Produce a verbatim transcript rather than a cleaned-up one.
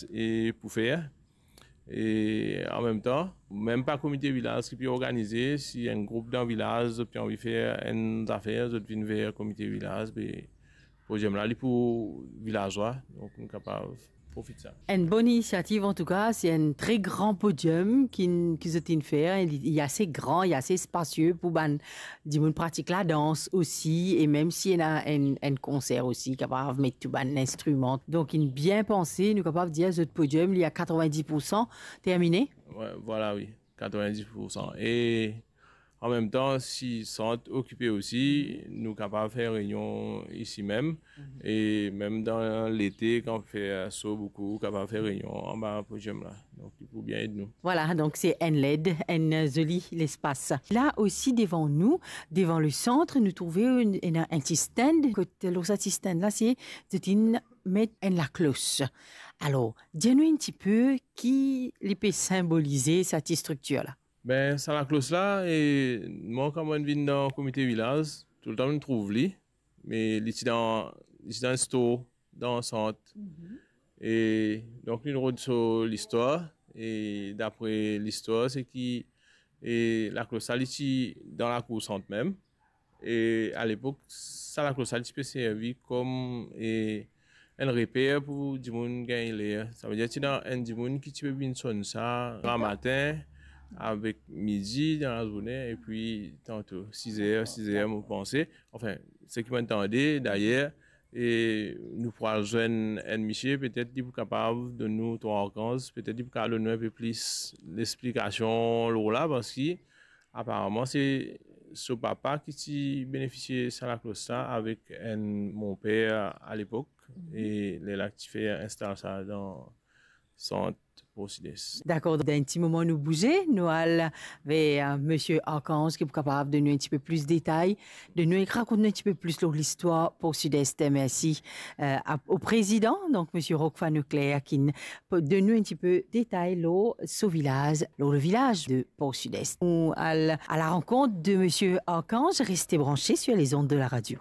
e pou fer. E an mem tan, mem pa komite vilaz ki pe organize, si enn group dan vilaz zot pe anvi fer enn zafer, zot vinn ver komite vilaz, be podium la li pou vilazwa, donk nou kapav profit sa. Enn bonn inisiativ antouka, se enn tre gran podium ki, ki zot inn fer, li, li ase gran, li ase spasie pou bann dimoun pratik ladans osi, e mem si ena enn, enn konser osi, kapav met tou bann instriman. Donk, inn bien panse, nou kapav dir zot podium, li a katrovin-dis poursan termine. Wi, vwala, wi, katrovin-dis poursan. E an mem tan, si sant okipe osi, nou kapav fer reynion isi mem. Mhm. E mem dan lete, kan fer so boukou, kapav fer reynion anba podium la. Donk, li pou bien ed nou. Vwala, donk se enn led, enn zoli lespas. La osi devan nou, devan le sant, nou trouve enn, enn, enn ti stand. Kot lor sa ti stand la, se, zot inn met enn laklos. Alor, dir nou enn tipe ki li pe sinbolize sa ti striktir la. Ben, sa laklos la, e mwa, kan mo vinn dan komite vilaz, toultan mo trouv li, me li ti dan, li ti dan enn store dan sant. Mhm. E donk, li rod so listwar, e dapre listwar, se ki, e laklos la, li ti dan lakour sant mem. E alepok, sa laklos la, li ti pe servi kom, e, enn reper pou dimoun gagn ler. Savedir, ti ena enn dimoun ki ti pe vinn sonn sa, gramatin, avek midi, dan lazourne, epi tanto siz er, siz er, mo panse. Anfin, seki mo tande, dayer, e nou pou al zwenn enn misie, petet li pou kapav donn nou, Twa Arkanz, petet li pou kapav donn nou enpe plis lesplikasion lor la, parski aparaman, se so papa ki ti benefisie sa laklos la avek enn monper alepok, mhm, e lerla ki ti fer instal sa dan sant Port Sud-Est. Dakor, dan enn ti moman nou bouze, nou al ver, euh, Misie Arkanz ki pou kapav donn nou enn tipe plis detay, donn nou, rakont nou enn tipe plis lor listwar Port Sud-Est. Mersi, euh, a, o prezidan, donk Misie Roquefort Leclerc, ki n-, pou donn nou enn tipe detay lor so vilaz, lor le vilaz de Port Sud-Est. Nou al a la rankont de Misie Arkanz, reste branche sur les ondes de la radio.